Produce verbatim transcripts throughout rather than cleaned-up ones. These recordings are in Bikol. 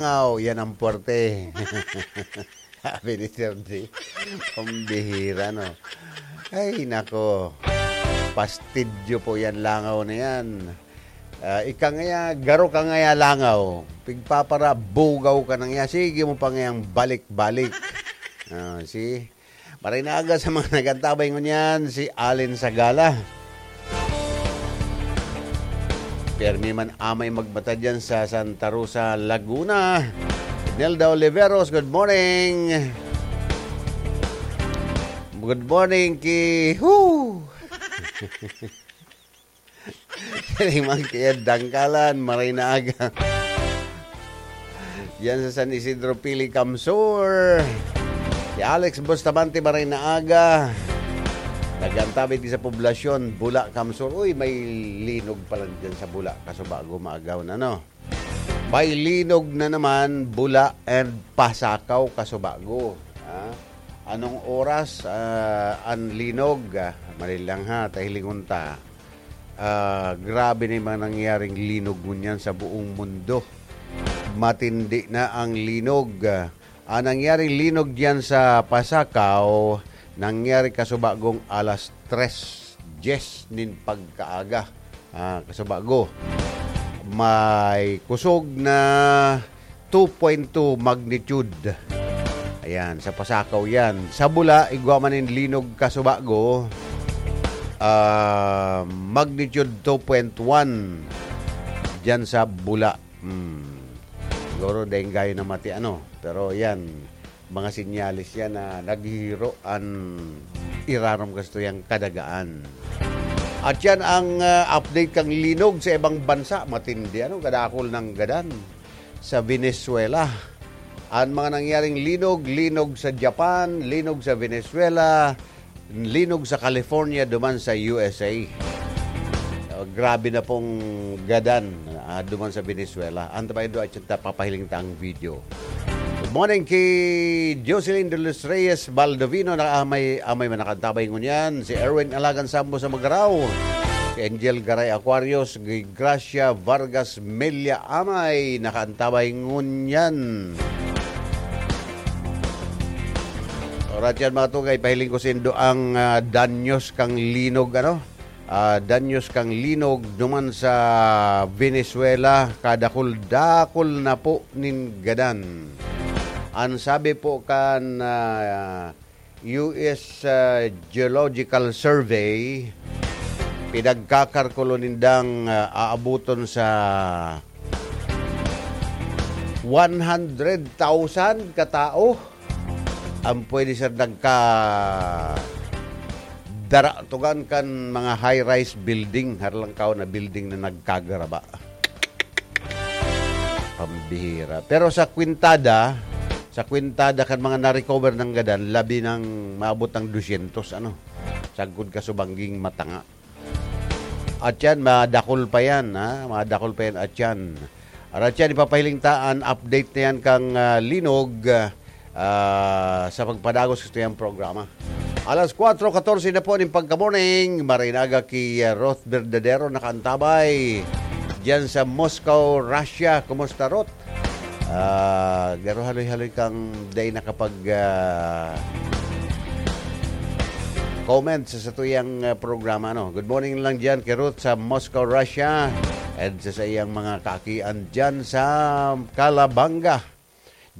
Langaw, yan ang puwerte. Sabi ni Sir D. Pambihira, no? Ay, nako. Pastidyo po yan, langaw na yan. Ah, ika ngaya, garo ka ngaya, langaw. Pigpapara, bugaw ka na ngaya. Sige mo pa ngayang balik-balik. Ah, see? Maray na aga sa mga nagantabay ngunyan, si Allen Sagala. Permi man amay magmata dyan sa Santa Rosa, Laguna. Nelda Oliveros, good morning. Good morning ki... Whoo! Siring man ki Ed Dangkalan, maray na aga. Yan sa San Isidro, Pili, Kamsur. Si Alex Bustamante, maray na aga. Nagantabay di sa poblasyon, Bula, Kamsur. Uy, may linog pa lang dyan sa Bula. Kasubago, maagaw na, no? May linog na naman, Bula and Pasakaw, Kasubago. Ha? Anong oras, ah, ang linog? Ah, mali lang ha, tahilingon ta. Ah, grabe na yung mga nangyaring linog ngunyan sa buong mundo. Matindi na ang linog. Ang nangyaring linog diyan sa Pasakaw, nangyari kasubagong alas tres dyes nin pagkaaga. Ah, kasubago. May kusog na two point two magnitude. Ayan, sa Pasakaw yan. Sa Bula, igwa man nin linog kasubago, ah, magnitude two point one diyan sa Bula. Hmm. Siguro, dahil gayo na mati, ano. Pero yan, mga sinyales yan na naghihiro an irarom kasto yang kadagaan. At yan ang, ah, update kang linog sa ibang bansa. Matindi, ano, kadakol ng gadan sa Venezuela. Ang mga nangyaring linog, linog sa Japan, linog sa Venezuela, linog sa California, duman sa U S A. Ah, grabe na pong gadan, ah, duman sa Venezuela. Ang tabay do at yung papahiling ta ang video. Good morning ki Jocelyn de los Reyes Baldovino, na amay, amay man nakantabay ngunyan. Si Erwin Alagan Sambo sa Magarao. Si Angel Garay Aquarius, Gracia Vargas Mella amay nakaantabay ngunyan. Oras yan, mga tugay, pahiling ko sindo ang, ah, danyos kang linog, ano? Ah, danyos kang linog duman sa Venezuela, kadakul-dakul na po nin gadan. Ang sabi po kan, ah, U S, ah, Geological Survey, pinagkakarkulo nindang, ah, aabuton sa one hundred thousand katao ang pwede sa nagka-, daratugan kan mga high-rise building, harlangkaw na building na nagkagaraba. Pambihira. Pero sa kwintada, sa kwintada kan mga na-recover ng gadan, labi ng maabot ng dosyentos, ano, sagkod kasubangging matanga. At yan, madakol pa yan, ha? Madakol pa yan, at yan. At yan, ipapahiling ta an update na yan kang, ah, linog, ah, sa pagpadagos sa tuyang programa. Alas kwatro katorse na po ning pagka-morning. Maray na aga ki, ah, Ruth Verdadero nakaantabay diyan sa Moscow, Russia. Kumusta, Ruth? Ah, garo haloy-haloy kang day nakapag, ah, comment sa satuyang, ah, programa, no? Good morning lang diyan kay Ruth sa Moscow, Russia, and sa, sa iyang mga kaakian diyan sa Calabanga.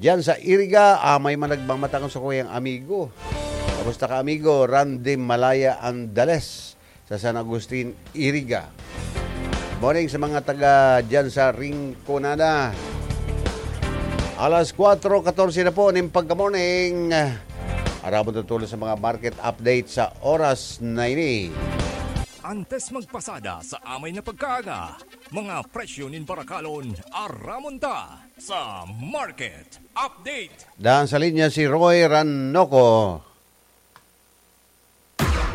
Diyan sa Iriga, ah, may man nagmamatakon sa kuyang amigo. Kamusta ka, amigo? Randy Malaya Andales sa San Agustin, Iriga. Morning sa mga taga diyan sa Rinconada. Alas kwatro katorse na po ning pagka-morning. Aram mo tutulong sa mga market update sa oras na ini. Antes magpasada sa amay na pagkaaga, mga presyo nin barakalon, aramon ta sa market update. Daan sa linya si Roy Ranoco.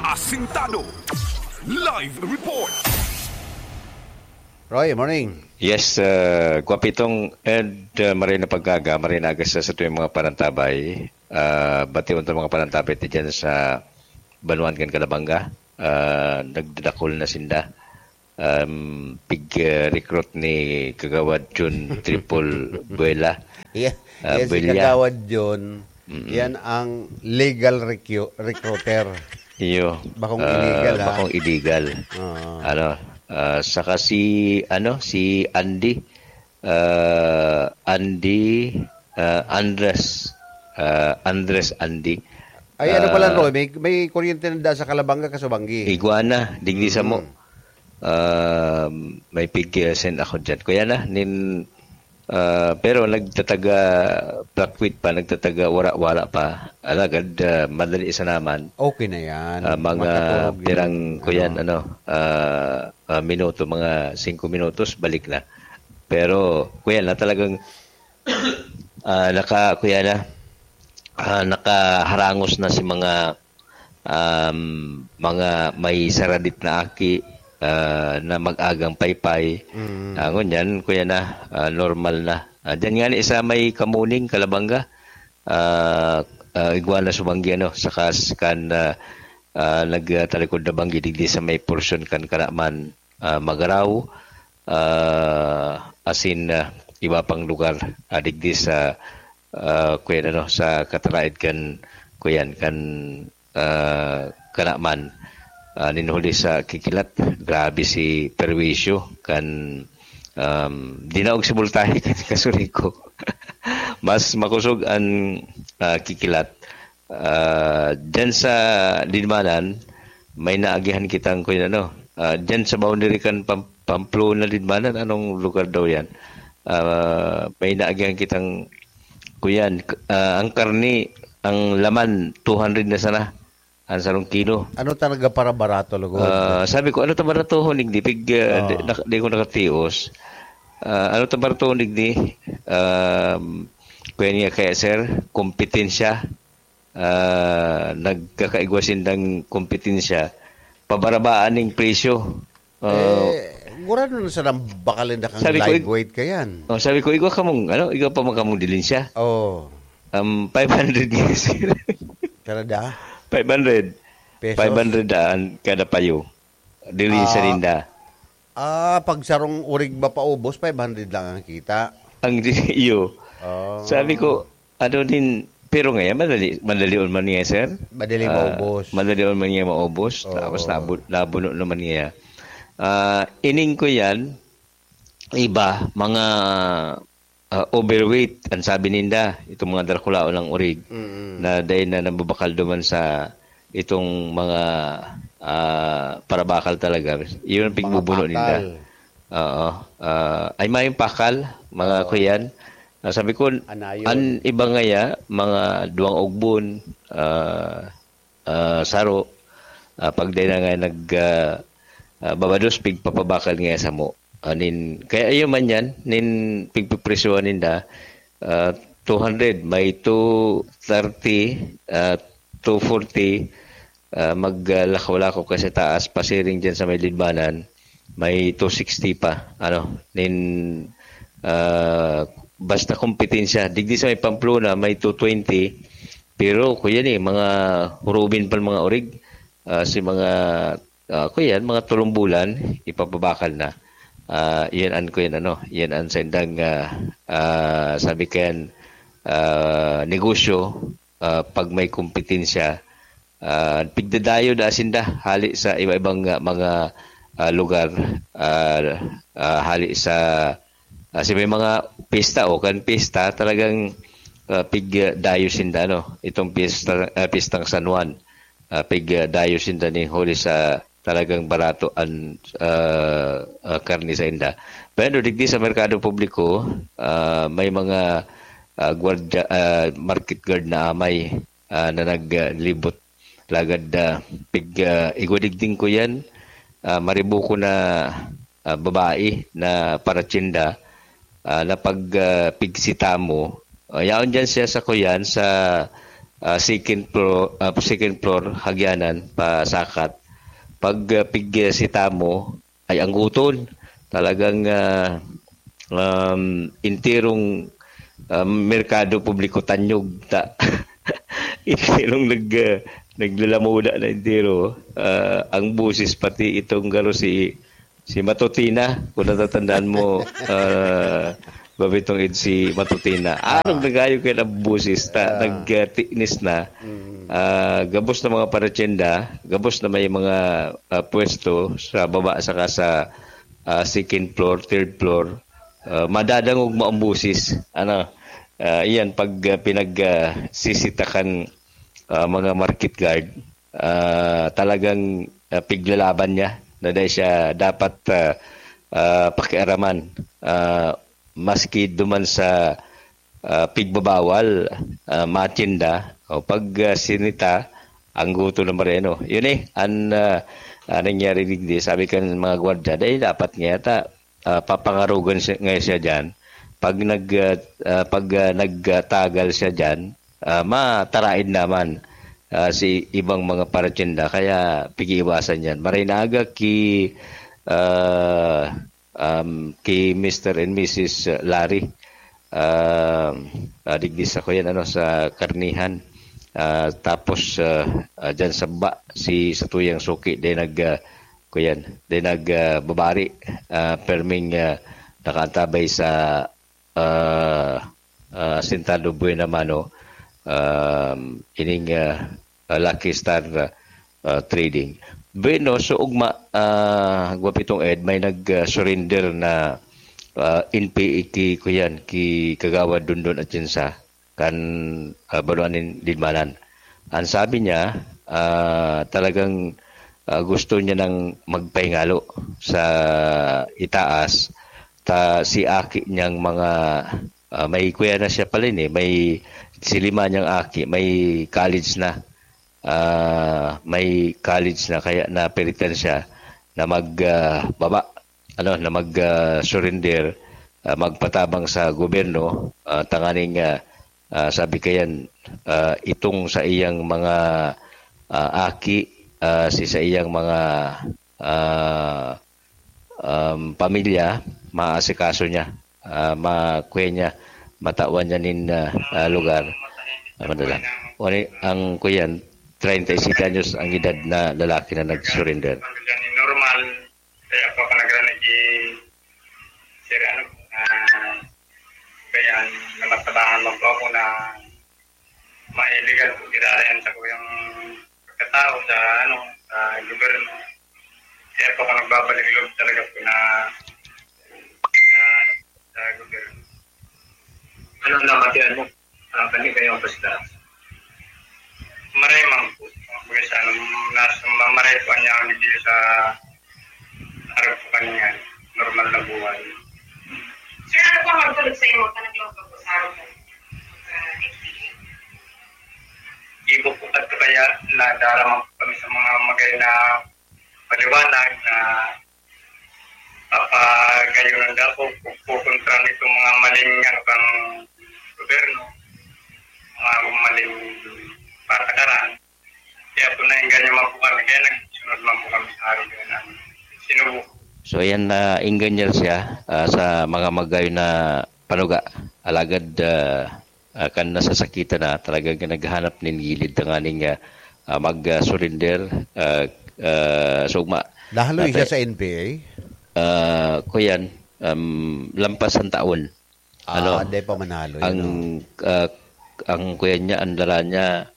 Asintado. Live report. Roy, morning. Yes, uh, Guapitong and, uh, maray na pagkaaga, maray na aga sa satuyang mga panantabay. Uh, bati mo itong mga panantabay ti dyan sa Banuan kan Calabanga. Uh, nagdadakol na sinda. Um, pig, uh, recruit ni Kagawad Jun Triple Buela. Yeah. Ah, Yan si Bilya. Kagawad John. Mm-mm. Yan ang legal recru-, recruiter. Iyo. Bakong Ah, illegal, ha? bakong illegal. Oo. Ano, ah, saka si, ano, si Andy, ah, Andy, ah, Andres, ah, Andres Andy. Ay, ano pala, Ah, Roy? May, may kuryente na da sa Calabanga, Casubangui. Iguana, digdi sa mo. Mm. Ah, may pig, ah, send ako dyan. Kuya na, nin, ah, pero nagtataga Blackquit pa, nagtataga Wara-Wara pa. Alagad, ah, madali sa naman. Okay na yan. Ah, mga Mataturog yun. pirang, kuyan, Ano? ano, ah, ah, minuto, mga singko minutos, balik na. Pero, kuya na, talagang, ah, naka, kuya na, ah, nakaharangos na si mga, um, mga may saradit na aki, ah, na mag-agang paypay. Mm. Ah, ngunyan, kuya na, ah, normal na. Ah, dyan nga ni isa may kamuning, Kalabanga, ah, ah, igwa na sumanggi, ano, saka s-, kan, ah, ah, nagtalikod na banggi digdi sa may porsyon kan Karaman, ah, Magarao, ah, asin, ah, iba pang lugar, ah, digdi sa, ah, kuyan, ano, sa kataraed kan, kuyan, kan, ah, Karaman. Ah, ninhuli sa Kikilat, grabe si perwisyo kan, um, dinaog si Multahi kan Kasuriko. Mas makusog an, ah, Kikilat. Ah, dyan sa Linmanan, may naagihan kitang, kuyan, ano, ah, dyan sa boundary kan Pam-, Pamplona, Linmanan, anong lugar daw yan? Ah, may naagihan kitang, kuyan, k-, ah, ang karni, ang laman, two hundred na sana, ang sarong kilo. Ano talaga para barato, lugod? Ah, sabi ko, "Ano ta baratohon, digdi?" Pig, ah, Oo. di, nak-, di ko nakatios. Ah, "Ano ta baratohon, digdi?" Um, kuya niya kaya, sir, kompetensya. Ah, nagkakaigwa sindang kompetensya. Pabarabaan ning presyo. Ah, Eh, gurado na sa nang bakal na kang Sabi ko, live "Ig-, weight ka yan. oh, sabi ko, "Igwa ka mong, ano, igwa pa man ka mong dilin siya." Oh. Um, five hundred nga, sir. Kada? Five hundred. Pesos? Five hundred daan kada payo. Dili sa Ah. ninda. Ah, pag sarong urig ba paubos, five hundred lang ang kita? Ang di-, iyo. Oh. Sabi ko, "Ano din," pero ngayon, madali, madali on man niya, sir. Madali Ah, maubos. madali on man niya maubos. Oo. Tapos nabu-, nabuno naman niya. Ah, ining ko yan, iba, mga, ah, overweight, ang sabi ninda, itong mga darakulaon ng urig, Mm. na dahil na nababakal duman sa itong mga, ah, parabakal talaga. Yun ang Mga pigbubuno ninda. pakal. Oo. Ah, ay, mayong pakal, mga Oo. kuyan. Ah, sabi ko, Anayon. an iba ngaya, mga duwang ugbon, ah, ah, saro, ah, pag dai na nga nag, ah, ah, babados, pigpapabakal ngaya samo. Ah, nin, kaya iyo man yan, nin pigpipresyohan ninda, ah, two hundred, may two thirty, ah, two forty, ah, mag, ah, lakaw-lakaw ka sa taas, pasiring dyan sa may Linmanan, may two sixty pa, ano, nin, ah, basta kompetensya. Digdi sa may Pamplona, may two twenty, pero kuya ni, mga hurubin pa mga urig, ah, si mga, ah, kuya, mga tulong bulan, ipapabakal na. Ah, yan an, kuya, ano, yan an sa indang, ah, ah, sabi kayan, ah, negosyo, ah, pag may kompetensya, ah, pigdadayo da sinda hali sa iba-ibang, ah, mga, ah, lugar, ah, ah, hali sa, ah, sa may mga pista o kan pista, talagang, ah, pigdayo sinda, no? Itong pista, ah, pistang San Juan, ah, pigdayo sinda ni huli sa talagang barato an, ah, ah, karne sa inda. Pero digdi sa merkado publiko, ah, may mga, ah, gwardiya, ah, market guard na amay, ah, na naglibot. Lagad, ah, pig, ah, igwa digding ko yan, ah, maribuko na, ah, babae na paratyenda, ah, na pag, ah, pigsitamo, ah, yaon dyan siya sa kuyan, sa, ah, second floor, ah, second floor, hagyanan, pasakat. Pag, ah, pigsitamo, ay angguton. Talagang, ah, um, enterong, ah, merkado publiko tanyog ta. Enterong nag, ah, naglalamuda na entero. Ah, ang busis pati itong garo si, si Matutina, kung natatandaan mo, ah, Babitong Ed si Matutina. Ah. Arog na kayo kaya ang busis ta, Ah. nagtinis na. Mm. Ah, gabos na mga paratyenda, gabos na may mga, ah, pwesto sa baba saka sa, ah, second floor, third floor. Ah, madadangog mo ang busis. Ano, ah, iyan pag, ah, pinag, ah, sisitakan, ah, mga market guard, ah, talagang, ah, piglalaban niya na dahil siya dapat, ah, ah, pakiaraman. Ah, maski duman sa, ah, pigbabawal, ah, matinda, o pag, ah, sinita, ang guto na mareno. Yun eh, an, ah, ah, nangyari digdi, sabi kan mga gwardiya, dahil dapat nga yata, ah, papangarugan siya, nga siya dyan. Pag nag, ah, ah, pag, ah, nagtagal siya dyan, ah, mataraid naman, ah, si ibang mga paratinda. Kaya pigiiwasan yan. Maray na aga ki, ah, um, ki Mister and Missus Larry. Um, ah, digdi sa kuyan, ano, sa Karnihan. Ah, tapos, ah, ah, dyan sa baba, si, sa tuyang suki, din nag, ah, kuyan, din nag, ah, babari, ah, perming, ah, nakaantabay sa, ah, ah, Sentado Buena Mano, um, ining, ah, ah, Lucky Star, ah, ah, Trading. Bueno, so ugma, ah, Gwapitong Ed, may nag, ah, surrender na, ah, N P A ki, kuyan, ki Kagawad Dondon Atienza, kan, ah, Banwaan nin Lidmanan. Ang sabi niya, ah, talagang, ah, gusto niya nang magpahingalo sa itaas, ta si aki niyang mga, ah, may kuya na siya pala ini, may si lima niyang aki, may college na. Ah, may college na, kaya napilitan siya na mag, ah, baba, ano, na mag, ah, surrender, ah, magpatabang sa gobyerno, ah, tanganing, ah, ah, sabi kayan, ah, itong sa iyang mga, ah, aki, ah, si sa iyang mga, ah, um, pamilya, maasikaso niya, ah, makuha niya, matawan niya nin, ah, ah, lugar. Ah, madala. Wala, ang kuyan, treinta y siete anyos ang edad na lalaki na nag-surrender. Normal, kaya pa panagrana ki Sir, ano, ah, kaya namatabangan mo po ako na mailigan po, tirarayan sa kuyang pagkatao sa, ano, sa gobyerno. Kaya po ako nagbabalik loob talaga po na sa, ano, sa gobyerno. Ano naman yan mo? Ah, kani kayo ang basta? Maray man po. Kumbaga sa, ano, nasa, mamaray po niya ang video sa harap po kanya. Normal na buhay. Sir, ano po ang magtulog sa imo? Ka nagluto po sa harap mo? Sa N P A? Ibo po at kaya nadarama po kami sa mga magay na paliwanag na papagayon ang dako, pupuntra nitong mga maling, ano, kang gobyerno, mga maling patakaran. Kaya po naengganyo man po kami, kaya nagsunod man po kami sa araw na namin. Sinubukan. So, ayan, naengganyo siya, ah, sa mga magayon na panuga. Alagad, ah, ah, kan nasasakitan na, talagang naghahanap nin gilid tanganing, ah, ah, mag, ah, surrender, ah, ah, sugma. Nahaloy siya Natay- sa N P A? Ah, kuyan, um, lampas ang taon. Ah, Ano? Di pa manalo yun, Ang, no? ah, ang kuyan niya, ang dala niya,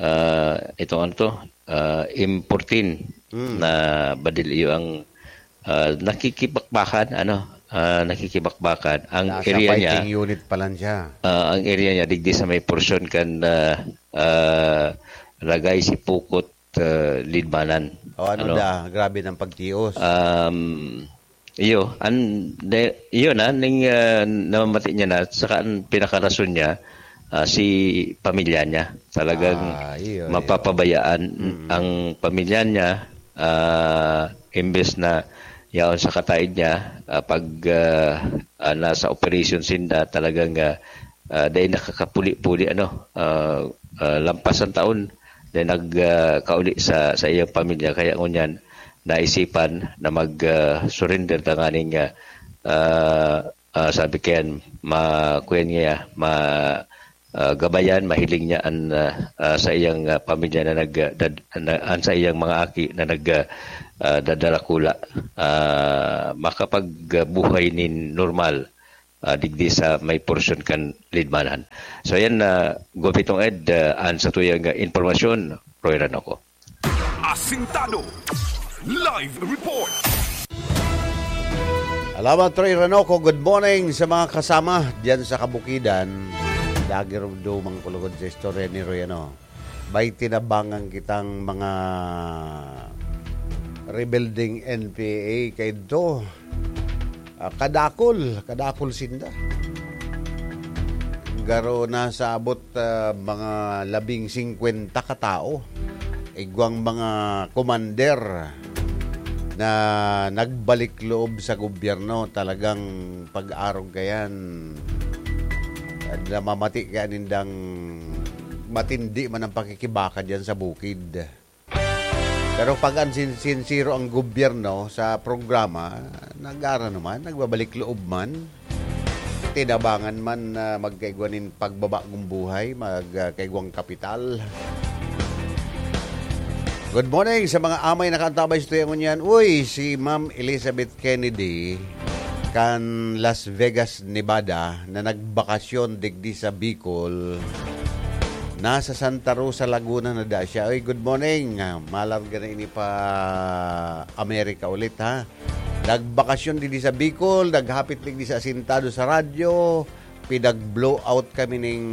ah, itong ano to, ah, M fourteen Mm. na badil iyo ang, ah, nakikibakbakan, ano, ah, nakikibakbakan. Ang Nasa area niya, fighting unit pa lang siya. ah, ang area niya, digdi sa may porsyon kan, ah, ah, Ragay, Sipukot, ah, Lidmanan. O, ano Ano? da, grabe ng pagtios. Um, iyo, an, de, iyo na, ning, ah, namamati niya na, saka ang pinakarason niya, ah, si pamilya niya. Talagang Ah, iyo, iyo. mapapabayaan Mm. ang pamilya niya, ah, imbes na yaon sa kataid niya, ah, pag, ah, ah, nasa operation sinda, talagang, ah, ah, dahil nakakapuli-puli, ano, ah, ah, lampas ang taon, dahil nag, ah, kauli sa, sa iyang pamilya. Kaya ngunyan, naisipan na mag, ah, surrender tanganing, ah, ah, ah, sabi kayan, ma-, kuyan niya, ma-, ah, gabayan, mahiling niya an, ah, ah, sa iyang, ah, pamilya na nag, ah, dad-, na, an sa iyang mga aki na nag, ah, ah, dadarakula, ah, makapagbuhay nin normal. ah, digdi sa may porsyon kan Lidmanan. So yan, ah, Gopitong Ed, ah, an satuyang, ah, impormasyon, Roy Ranoco. Asintado Live Report. Alamat, Roy Ranoco. Good morning sa mga kasama diyan sa kabukidan. Dagir dumang kulugod sa istorya ni Roy, ano? May tinabangan kitang mga rebuilding N P A kaidto. Ah, kadakol, kadakol sinda. Garo na sa abot, ah, mga labing singkwenta ka tao. Igwang mga commander na nagbalik loob sa gobyerno, talagang pag-arog kayan, namamati kaya nindang matindi man ang pakikibaka diyan sa bukid. Pero pag an sin-, sinsiro ang gobyerno sa programa, nag-aano naman, nagbabalik loob man. Tinabangan man na magkaigwa nin pagbabagong buhay, mag, ah, kaigwang kapital. Good morning sa mga amay nakaantabay sa tuya ngunyan. Uy, si Ma'am Elizabeth Kennedy kan Las Vegas, Nevada, na nagbakasyon digdi sa Bicol. Nasa Santa Rosa, Laguna na da siya. Uy, good morning. Ah, malarga na ini pa Amerika ulit, ha? Nagbakasyon digdi sa Bicol, naghapit digdi sa asintado sa radyo, pinag-blow out kami ning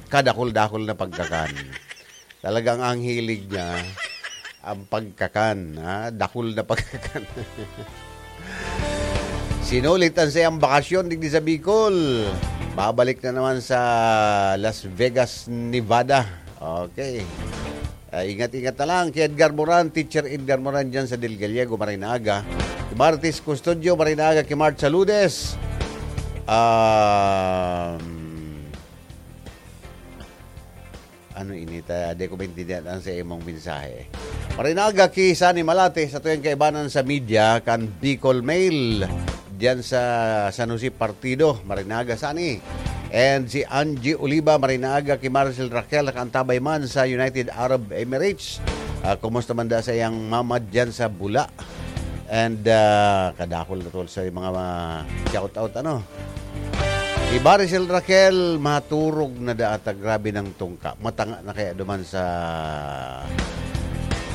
kadakul-dakul na pagkakan. Talagang ang hilig niya, ang pagkakan, ha? Dakul na pagkakan. Sinulit ang sayang bakasyon digdi sa Bicol. Babalik na naman sa Las Vegas, Nevada. Okay. Ah, ingat-ingat na lang kay Edgar Moran, Teacher Edgar Moran dyan sa Del Gallego, maray na aga. Kay Martis Custodio, maray na aga. Kay Mart Saludes. Um, ano ini ta? Di ko maintindihan ang sa imong mensahe. Maray na aga ki Sunny Malate, sa tuyang kaibanan sa media, kan Bicol Mail, diyan sa San Jose Partido. Maray na aga, Sunny. And si Angie Oliva, maray na aga ki Maricel Raquel, nakaantabay man sa United Arab Emirates. Ah, kumusta man da sa iyang mama diyan sa Bula? And, ah, kadakol na tol sa mga, mga shout out, ano? Si Maricel Raquel, maturog na da ata, grabe ng tungka. Matanga na kaya duman sa,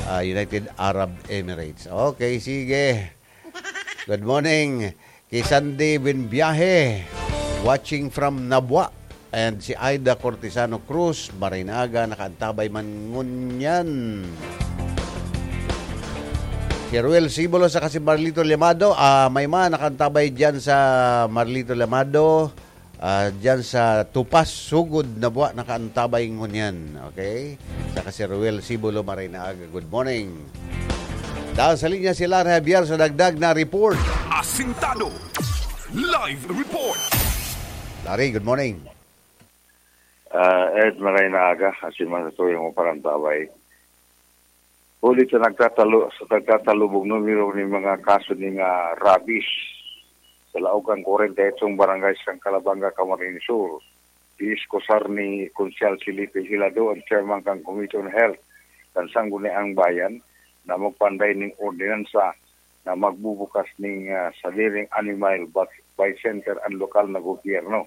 ah, United Arab Emirates. Okay, sige. Good morning. Kay Sandy Binbiahe, watching from Nabua. And si Aida Cortesano Cruz, maray na aga, nakaantabay man ngunyan. Si Ruel Sibulo saka si Marlito Llamado, ah, may man nakaantabay diyan sa Marlito Llamado, ah, diyan sa Tupas, Sugod, Nabua, nakaantabay ngunyan. Okay? Saka si Ruel Sibulo, maray na aga. Good morning. Dahil sa linya si Larry Javier sa dagdag na report. Asintado Live Report. Larry, good morning. Ah, Ed, maray na aga. Asin man sa tuyang mo parantabay. Huli sa nagtatalo-, sa nagtatalubong numero nin mga kaso nin, ah, rabies sa laog kan kwarenta y otsong barangay sa Calabanga, Camarines Sur, iiskusar ni Konsehal Felipe Hilado, ang chairman kan Committee on Health kan Sangguniang Bayan, na magpanday ning ordinansa na magbubukas ning, ah, sadiring animal bat-, bay center ang lokal na gobyerno.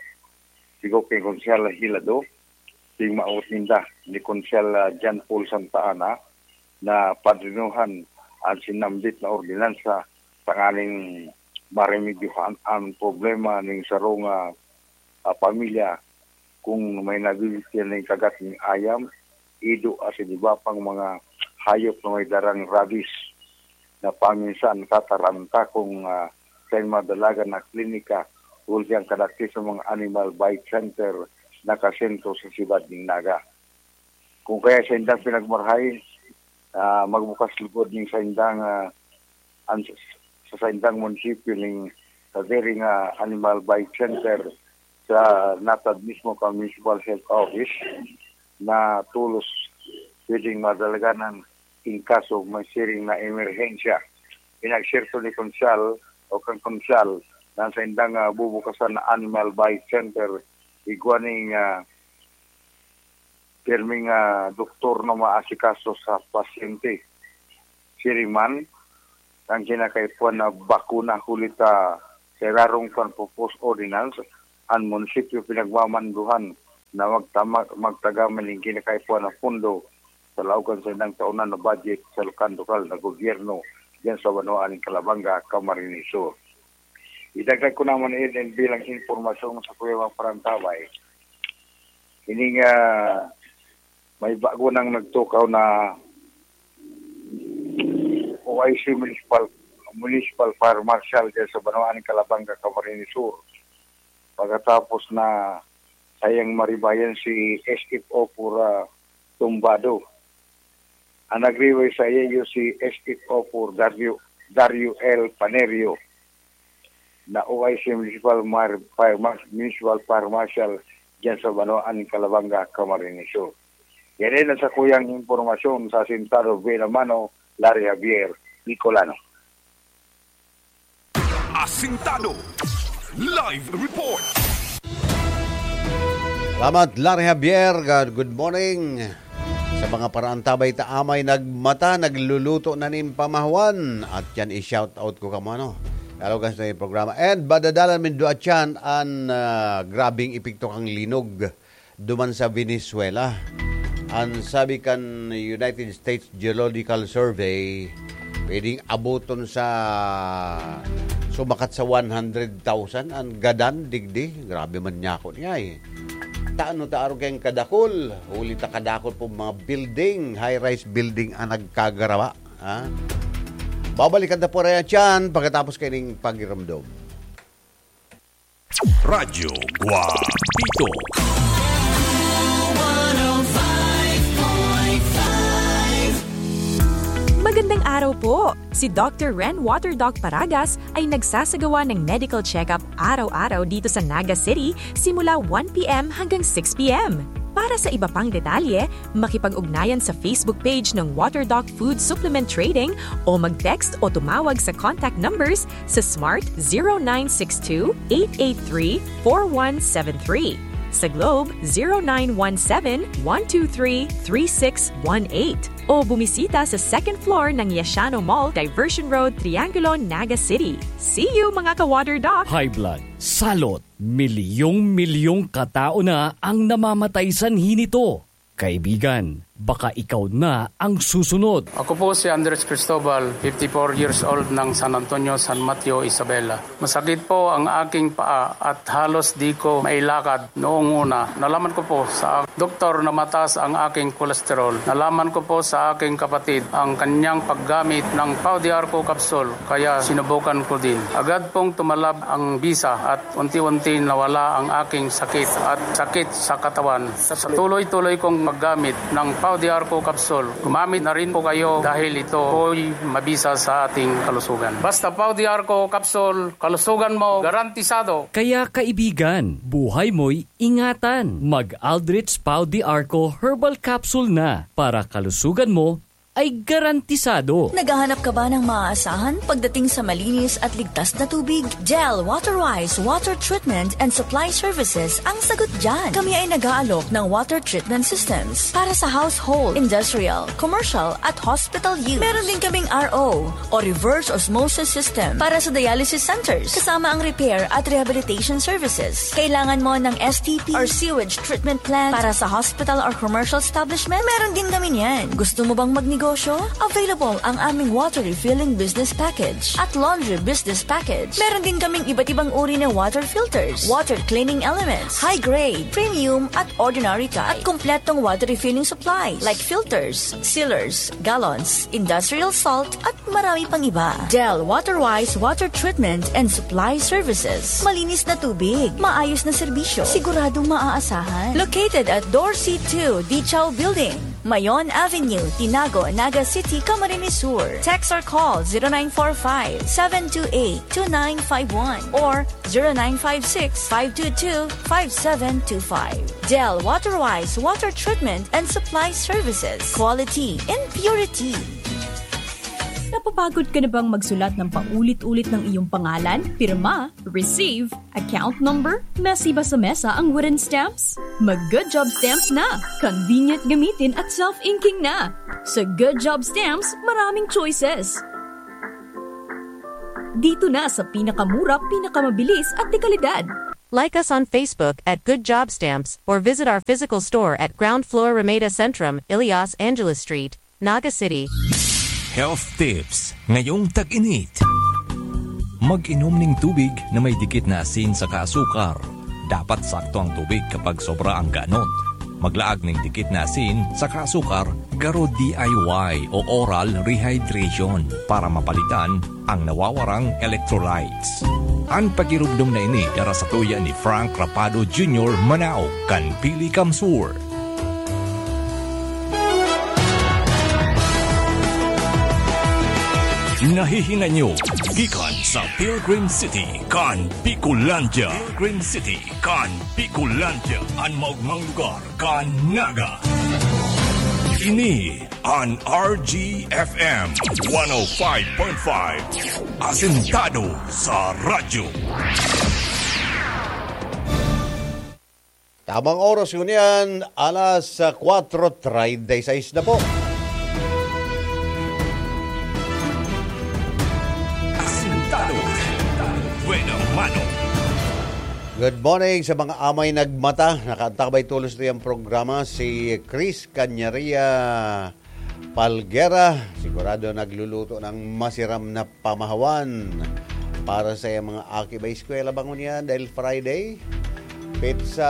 Sigo ki Konsehal Hilado, tingmawot ninda ni Konsehal, ah, John Paul Santa Ana na padrinuhan ang sinambit na ordinansa tanganing maremedyohan ang problema ning sarong, ah, ah, pamilya kung may nabibitian ning kagat ning ayam, ido asin iba pang mga hayop na may darang rabies na paminsan kataranta kung, ah, sa mga dalagan na klinika, huli ang kadakti sa mga animal bite center na kasentro sa siyudad ning Naga. Kung kaya sa indang pinagmarahay, ah, magbukas lugod ning sa indang, ah, an-, sa saindang munisipyo ning sadiri nga animal bite center sa natad mismo kan Municipal Health Office na tolos pwedeng madalaganan in kaso may siring na emerhensya. Pinagserto ni Konsehal o kan Konsehal na sa indang, ah, bubukasan na animal bite center, igwa ning, ah, pirming, ah, doktor na maasikaso sa pasyente. Siring man, ang kinakaipuhan na bakuna huli ta sa irarong pan-propose ordinance, an munisipyo pinagmamanduhan na magtama-, magtaga man nin kinakaipuhan na pondo sa laog kan saindang taonan na budget sa lokal-lokal na gobyerno diyan sa banwaan nin Calabanga, Camarines Sur. Idagdag ko naman ini bilang impormasyon sa kuya mga parantabay. Ining, ah, may bago nang nagtukaw na O I C Municipal, Municipal Fire Marshal diyan sa banwaan nin Calabanga, Camarines Sur. Pagkatapos na sayang maribayan si S F O for, ah, tumbado. Ang nagribay sa iyo si S F O for Dario, Dario L Panerio na O I C Municipal Mar-, Fire Mar-, Municipal Fire Marshal diyan sa banwaan nin Calabanga, Camarines Sur. Yan din ang sakuyang impormasyon sa Asintado, Binamano, Larry Javier, Bicolano. Asintado. Live report. Salamat, Larry Javier. Good, good morning. Sa mga paraantabay ta amay nagmata, nagluluto na nin pamahawan. At yan, i-shout out ko kamo, ano. Kalaw kan sa programa. And badadalan min duwa tiyan an, ah, grabing epekto kan linog duman sa Venezuela. An sabi kan United States Geological Survey, pwedeng aboton sa sumakat sa one hundred thousand an gadan digdi. Grabe man niya ako niya eh. Tano ta arog kayong kadakol? Huli ta kadakol po mga building, high-rise building ang nagkagarawa. Ha? Babalikan ta po rin yan pagkatapos kaining pagiramdom. Radyo Guapito. Magandang araw po! Si Doctor Ren Water Doc Paragas ay nagsasagawa ng medical check-up araw-araw dito sa Naga City simula one p.m. hanggang six p.m. Para sa iba pang detalye, makipag-ugnayan sa Facebook page ng Water Doc Food Supplement Trading o mag-text o tumawag sa contact numbers sa Smart zero nine six two, eight eight three, four one seven three, sa Globe zero nine one seven, one two three, three six one eight, o bumisita sa second floor ng Yashano Mall, Diversion Road, Triangulo, Naga City. See you, mga ka-Water Doc! High blood, salot, milyong-milyong katao na ang namamatay sanhi nito. Kaibigan, baka ikaw na ang susunod. Ako po si Andres Cristobal, fifty-four years old ng San Antonio, San Mateo, Isabela. Masakit po ang aking paa at halos di ko mailakad noong una. Nalaman ko po sa doktor na mataas ang aking kolesterol. Nalaman ko po sa aking kapatid ang kanyang paggamit ng Pau de Arco capsule, kaya sinubukan ko din. Agad pong tumalab ang bisa at unti-unti nawala ang aking sakit at sakit sa katawan. Sa tuloy-tuloy kong paggamit ng Pau de Arco capsule, gumamit na rin po kayo dahil ito po'y mabisa sa ating kalusugan. Basta Pau de Arco capsule, kalusugan mo garantisado. Kaya kaibigan, buhay mo'y ingatan. Mag Aldrich Pau de Arco Herbal Capsule na para kalusugan mo ay garantisado. Naghahanap ka ba ng maaasahan pagdating sa malinis at ligtas na tubig? Del Waterwise Water Treatment and Supply Services ang sagot dyan. Kami ay nag-aalok ng water treatment systems para sa household, industrial, commercial at hospital use. Meron din kaming R O o reverse osmosis system para sa dialysis centers, kasama ang repair at rehabilitation services. Kailangan mo ng S T P or sewage treatment plant para sa hospital or commercial establishment? Meron din kami niyan. Gusto mo bang magnegosyo? Available ang aming water refilling business package at laundry business package. Meron din kaming iba't ibang uri na water filters, water cleaning elements, high grade, premium at ordinary type, at kompletong water refilling supplies like filters, sealers, gallons, industrial salt, at marami pang iba. Del Waterwise Water Treatment and Supply Services. Malinis na tubig, maayos na serbisyo, siguradong maaasahan. Located at Dorsey two Dichaw Building, Mayon Avenue, Tinago, Naga City, Camarines Sur. Text or call zero nine four five, seven two eight, two nine five one or zero nine five six, five two two, five seven two five. Del Waterwise Water Treatment and Supply Services. Quality in purity. Napapagod ka na bang magsulat ng paulit-ulit ng iyong pangalan, pirma, receive, account number? Messy ba sa mesa ang wooden stamps? Mag Good Job Stamps na! Convenient gamitin at self-inking na! Sa Good Job Stamps, maraming choices! Dito na sa pinakamura, pinakamabilis at dekalidad. Like us on Facebook at Good Job Stamps or visit our physical store at ground floor Ramada Centrum, Ilias Angeles Street, Naga City. Health tips ngayong tag-init. Mag-inom ning tubig na may dikit na asin saka asukar. Dapat sakto ang tubig kapag sobra ang ganot. Maglaag ning dikit na asin saka asukar, garo D I Y o oral rehydration para mapalitan ang nawawarang electrolytes. An pagiromdom na ini dara sa tuya ni Frank Rapado Junior Manao kan Pili Kamsur. Nahihingan nyo gikan sa Pilgrim City kan Bicolandia. Pilgrim City kan Bicolandia, an maogmang lugar kan Naga. Ini an R G F M one oh five point five. Asentado sa radyo. Tamang oras ngunyan, alas kwatro treinta y seis na po. Asentado. Buena mano. Good morning sa mga amay nagmata. Nakaantabay tulos na yung programa si Chris Canyaria Palguera. Sigurado nagluluto ng masiram na pamahawan para sa iyang mga aki. May eskwela ba ngunyan dahil Friday? Petsa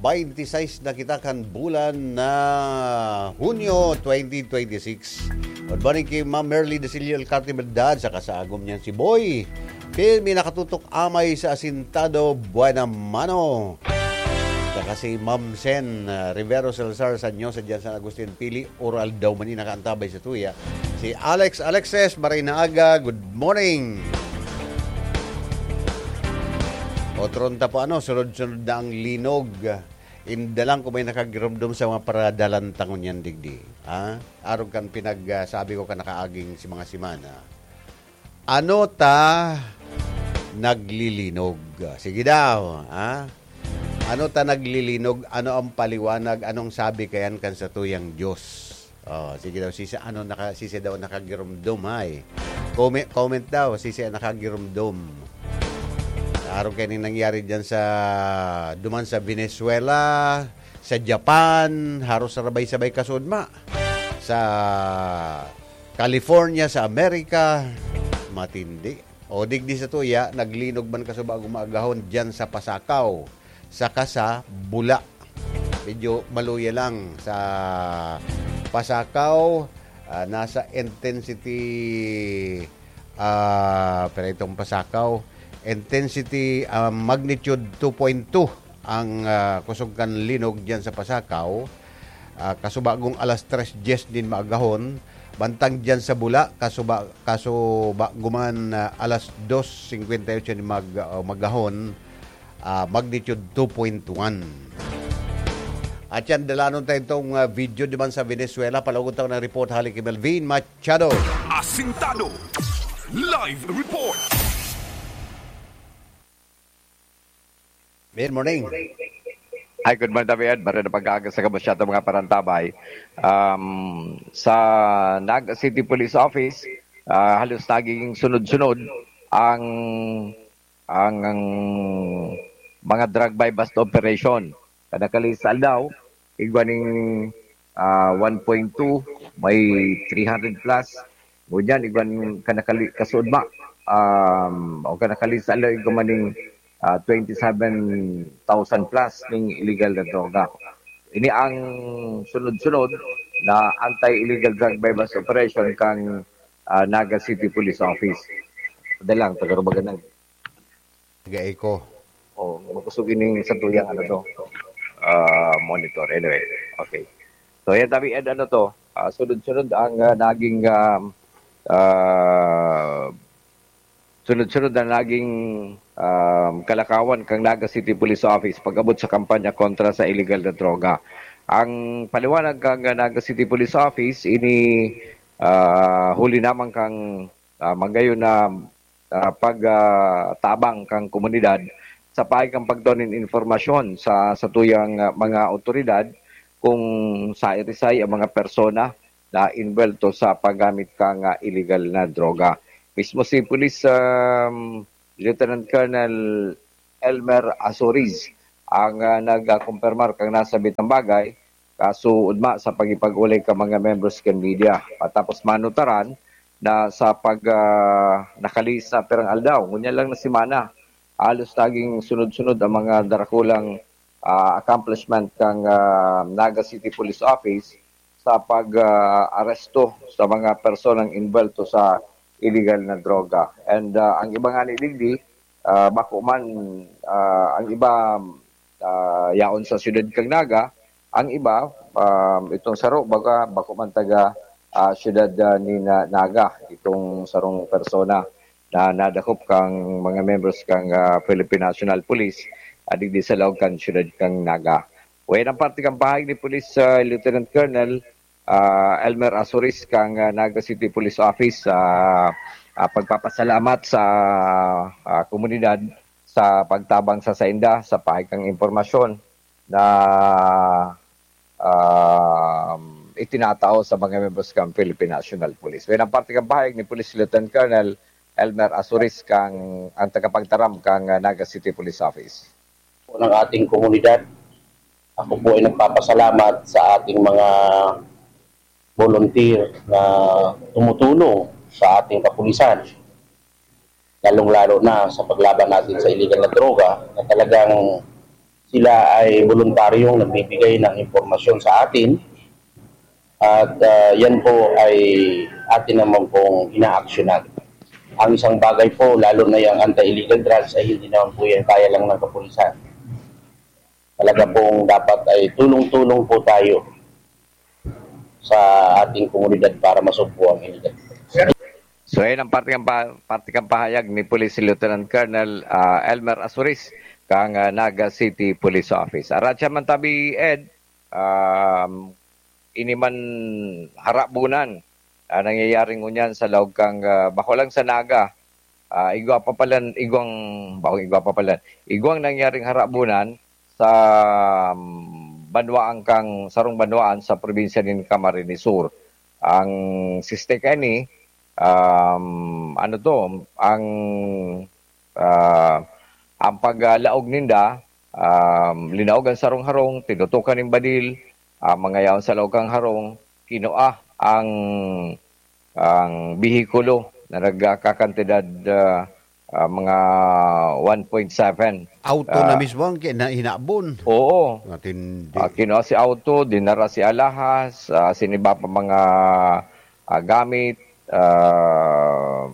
twenty-six na kita kan bulan na Hunyo twenty twenty-six. Good morning kay Ma'am Merly Desilio Alcarte Verdad, saka sa agom niyan si Boy. Pirmi nakatutok amay sa Asintado, Buena Mano. Saka si Ma'am Sen, ah, Rivero Salazar, sa Nyosa dyan, San Agustin, Pili, Oral daw man yung nakaantabay sa tuya. Si Alex Alexis, Maray na Aga, good morning. Otron ta po, ano, sunod-sunod na ang linog. Inda lang kung may nakagiromdom sa mga paradalan tangon yan, digdi. Ha? Arog kan pinag, ah, sabi ko ka nakaaging si mga semana. Ano ta naglilinog? Sige daw, ha? Ano ta naglilinog? Ano ang paliwanag? Anong sabi kayan kan satuyang Diyos? Oh, sige daw, sisi, ano, naka, sisi daw nakagiromdom, ay. Comment, comment daw, sisi ang nakagiromdom. Araw kayo ning nangyari dyan sa, duman sa Venezuela, sa Japan, haros rabay-sabay kasudma. Sa California, sa Amerika, matindi. O digdi sa tuya, naglinog man kasubago maagahon dyan sa Pasacao, saka sa Bula. Medyo maluya lang sa Pasacao, ah, nasa intensity, ah, pero itong Pasacao, intensity, ah, magnitude two point two ang, ah, kusog kan linog diyan sa Pasacao. Ah, kasubagong alas tres diyes din maagahon, bantang diyan sa Bula, kasuba-, kasubago man, ah, alas dos singkwenta y otso din mag-, ah, magahon, ah, magnitude two point one. At yan, dalanon tayo itong, ah, video naman sa Venezuela. Palugod tayo ng report hali kay Melvin Machado. Asintado. Live report. Good morning. Hi, good morning, David. Maray na pag-aaga sa gabos siya itong mga parantabay. Um, sa Naga City Police Office, ah, halos nagiging sunod-sunod ang, ang, ang mga drug buy-bust operation. Kada kalis aldaw, igwa ning, ah, one point two, may three hundred plus. Ngunyan, igwa ning kanakali-, kasudma, um, o kanakalis aldaw, igwa man ning, ah, twenty-seven thousand plus ning illegal na droga. Ini ang sunod-sunod na anti-illegal drug buy-bust operation kang, ah, Naga City Police Office. Dali lang, taga Rubagan lang. Taga-Eco. Oh, makusog ining sa tuyang ano to, ah, monitor. Anyway, okay. So, yan, Tabi Ed, ano to, ah, sunod-sunod ang, ah, naging, ah, ah, sunod-sunod na naging, ah, kalakawan kang Naga City Police Office pag-abot sa kampanya kontra sa illegal na droga. Ang paliwanag kang, ah, Naga City Police Office, ini, ah, huli naman kang, ah, magayon na, ah, pag, ah, tabang kang komunidad sa paagi kan pagtao nin impormasyon sa satuyang, ah, mga awtoridad kung saisay ang mga persona na inbwelto sa paggamit kang, ah, illegal na droga. Mismo si Police, um, Lieutenant Colonel Elmer Azoriz ang, ah, nagkumpirmar kan nasabitang bagay, kaso ugma sa pagipag-olay kan mga members kan media. Matapos manutaran na sa pag, ah, nakalihis na pirang aldaw, ngunyan lang na semana, halos naging sunod-sunod ang mga darakulang, ah, accomplishment kan, ah, Naga City Police Office sa pag, ah, aresto sa mga personang involved sa illegal na droga. And, ah, ang iba nga ni digdi, ah, bako man, ah, ang iba, ah, yaon sa siyudad kan Naga, ang iba, um, itong saro, baga, bako man taga, ah, siyudad, ah, ni Na-, Naga, itong sarong persona na nadakop kang mga members kang, ah, Philippine National Police, ah, digdi sa laog kan siyudad kang Naga. Wayan ang parte kan pahayag ni Police, ah, Lieutenant Colonel, ah, Elmer Azuris kang, ah, Naga City Police Office, ah, ah, pagpapasalamat sa, ah, komunidad sa pagtabang sa sainda sa pahayag kang impormasyon na, um, itinatao sa mga membros kan Philippine National Police. Wayan ang parte kan pahayag ni Police Lieutenant Colonel Elmer Azuris kang ang tagapagtaram kang, ah, Naga City Police Office. Po ng ating komunidad. Ako po ay nagpapasalamat sa ating mga volunteer na tumutulong sa ating kapulisan, lalong-lalo na sa paglaban natin sa illegal na droga, na talagang sila ay voluntaryong nagbibigay ng impormasyon sa atin at, ah, yan po ay atin naman pong inaaksyonan. Ang isang bagay po, lalo na yung anti-illegal drugs, ay hindi naman po yan kaya lang ng kapulisan. Talaga pong dapat ay tulong-tulong po tayo sa ating komunidad para masugpo ang illegal drugs. So, ayan ang parte kan pa-, parte kan pahayag ni Police Lieutenant Colonel, ah, Elmer Azuris kang, ah, Naga City Police Office. Aratya man tabi, Ed, um, ini man harabunan, ah, nangyayari ngunyan sa laog kang, ah, bako lang sa Naga, ah, igwa pa palan, igwang, bako igwa pa palan, igwang nangyaring harabunan sa, um, banwaan kang, sarong banwaan sa probinsya nin Camarines Sur. Ang siste kaini, um, ano to, ang, ah, ang paglaog ninda, um, linaog ang sarong harong, tinutukan nin badil, ah, mga yaon sa laog kang harong, kinua ang, ang behikulo na nagkakantidad, ah, ah, mga one point seven. Auto na Ah, mismo ang kina-, hinabon. Oo. Matindi. Ah, kinua si auto, dinara si alahas, ah, asin iba pa mga, ah, gamit, ah,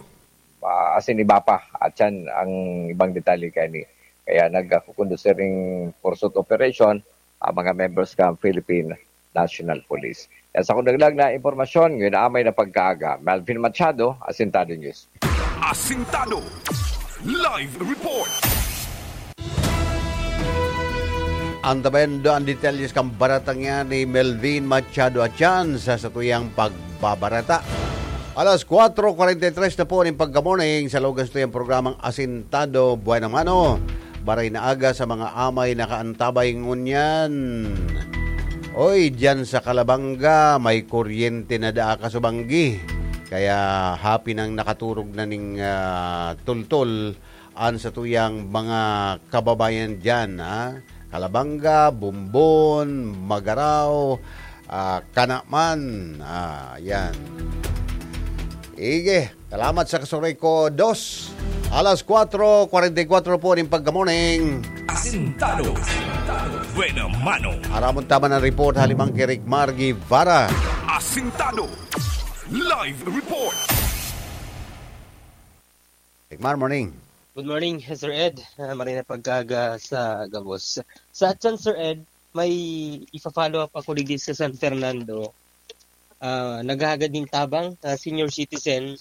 ah, asin iba pa. At yan ang ibang detalye kaini. Kaya nagkukondusir ning pursuit operation ang mga members kan Philippine National Police. Yan sa kundaglag na impormasyon, ngayon na amay na pagkaaga. Melvin Machado, Asintado News. Asintado Live Report. Antabayan do ang detalyes kan baratang yan ni Melvin Machado Atian sa satuyang pagbabarata. Alas kwatro kwarenta y tres na po ning pagka-morning sa lugar sa tuyang programang Asintado Buhay ng Mano. Baray na aga sa mga amay nakaantabay ngunyan. Oy, diyan sa Calabanga, may kuryente na daa kasubanggi. Kaya happy nang nakaturog na ning, ah, tultol an satuyang mga kababayan diyan, ha? Calabanga, Bombon, Magarao, ah, Canaman. Ah, yan. Ige, salamat sa Kasuray ko, dos. Alas kwatro kwarenta y kwatro po ning pagka-morning. Asintado. Buena mano. Aramon taman ang report, halimang kay Rick Margie Vara. Asintado. Live report. Rick Mar, morning. Good morning, Sir Ed. Ah, marhay na pagkaaga sa gabos. Sa atyan, Sir Ed, may ifa-follow up ako digdi sa San Fernando. Ah, naghahagad nin tabang, ah, senior citizen,